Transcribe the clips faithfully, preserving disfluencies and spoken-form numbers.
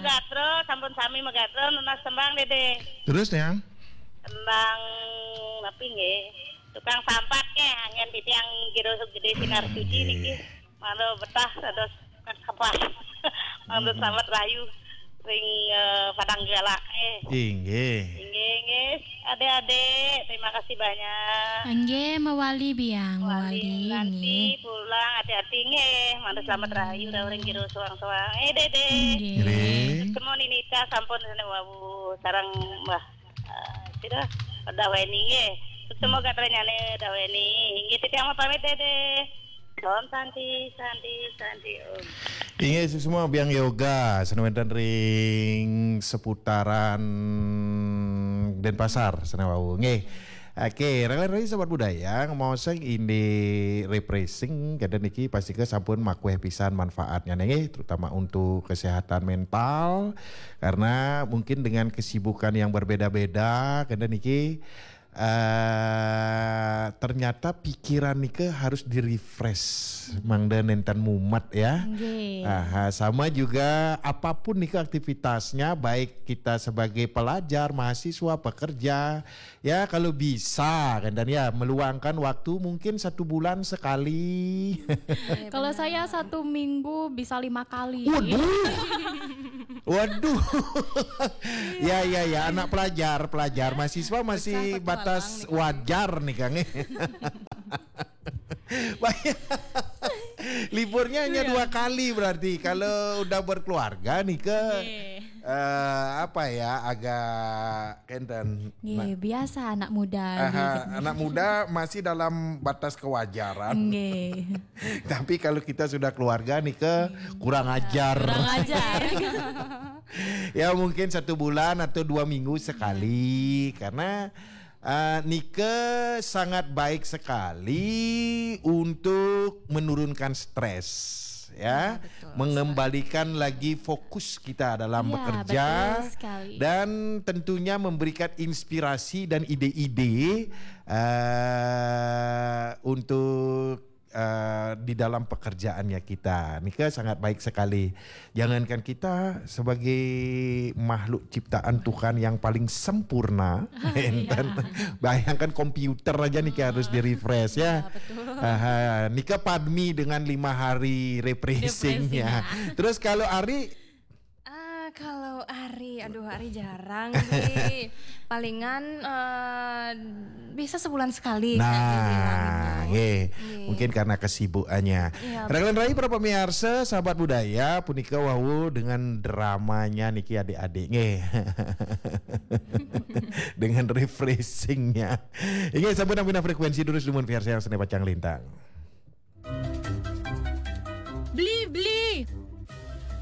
Gatra, sampun sami magatra nunas tembang, Dede. Terus, Yang? Tembang napi nggih? Tukang sampat nggih, anggen titiang jero gedé sinar suci niki. Malu betah dados tukang sampat. Malu selamat rahayu ring, eh, Padang Galak. Eh. Inggih. Inggih, inggih. Adik-adik, terima kasih banyak. Nggih, mewali biang, mewali, mewali, nanti nggih. Pulang hati-hati nggih. Malu selamat rahayu ring jero soang-soang. Eh, Dede. Nggih. Nggih. Ketemu Nini Ca sampun sene wau sareng Mbah, eh, sira Daweni nggih. Ketemu gatranyane Daweni. Nggih, titiang pamit, Dede. Om Santi, Santi, Santi, Om. Inggih, suksma biang yoga sane wenten ring seputaran Denpasar sane wau. Nggih. Oke, rela-rela sahabat budaya, ngomong indik refreshing, kenten niki pastika sampun makueh pisan manfaatnya nggih, terutama untuk kesehatan mental, karena mungkin dengan kesibukan yang berbeda-beda, kenten niki, eh, ternyata pikiran nika harus di-refresh, mangda nenten mumet ya. Nggih. Aha, sama juga apapun nika aktivitasnya, baik kita sebagai pelajar, mahasiswa, pekerja, ya kalau bisa kan, dan ya meluangkan waktu mungkin satu bulan sekali. Iya, kalau benar. Saya satu minggu bisa lima kali. Waduh. Waduh. Ya, ya, ya, anak pelajar, pelajar, mahasiswa masih batas wajar nih, Kang. Liburnya hanya dua kali berarti. Kalau udah berkeluarga nih ke, eh, apa ya, agak kenten. Nggih, biasa anak muda. Aha, gitu. Anak muda masih dalam batas kewajaran. Nggih. Tapi kalau kita sudah keluarga nih ke, kurang ajar. Kurang ajar. Ya mungkin satu bulan atau dua minggu sekali, karena, eh, nika sangat baik sekali untuk menurunkan stres, ya. Ya, betul sekali. Mengembalikan lagi fokus kita dalam bekerja, betul sekali. Dan tentunya memberikan inspirasi dan ide-ide, eh, untuk, eh, di dalam pekerjaannya kita. Nika sangat baik sekali. Jangankan kita sebagai makhluk ciptaan Tuhan yang paling sempurna, enten, bayangkan komputer aja nih harus di-refresh ya. Iya, betul. Aha, nika padmi dengan lima hari refreshingnya. Refreshingnya. Terus kalau Ari? Ah, kalau Ari, aduh, Ari jarang sih. Palingan, eh, bisa sebulan sekali, Kak, dibilangin. Nah, nggih. Nggih. Mungkin karena kesibukannya. Iya, betul. Raglan rai para pemirsa, sahabat budaya, punika wau dengan dramanya niki adik-adik, nggih. Dengan refreshingnya. Inggih, sampun nampi frekuensi durus dumun P R C yang seni pacang lintang. Beli, beli.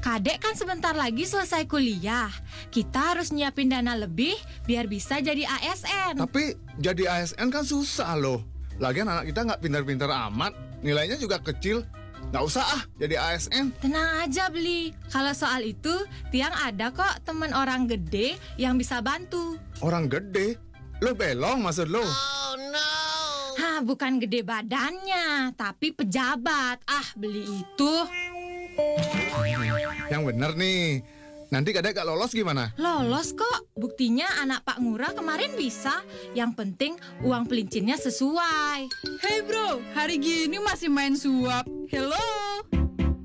Kadek kan sebentar lagi selesai kuliah. Kita harus nyiapin dana lebih biar bisa jadi A S N. Tapi jadi A S N kan susah loh. Lagian anak kita nggak pintar-pintar amat, nilainya juga kecil. Nggak usah ah jadi A S N. Tenang aja, Beli. Kalau soal itu, Tiang ada kok temen orang gede yang bisa bantu. Orang gede? Lo belong maksud lo? Hah, bukan gede badannya, tapi pejabat. Ah, Beli itu. Yang bener nih. Nanti kadek gak lolos gimana? Lolos kok. Buktinya anak Pak Ngurah kemarin bisa. Yang penting uang pelincinnya sesuai. Hey bro, hari gini masih main suap? Hello.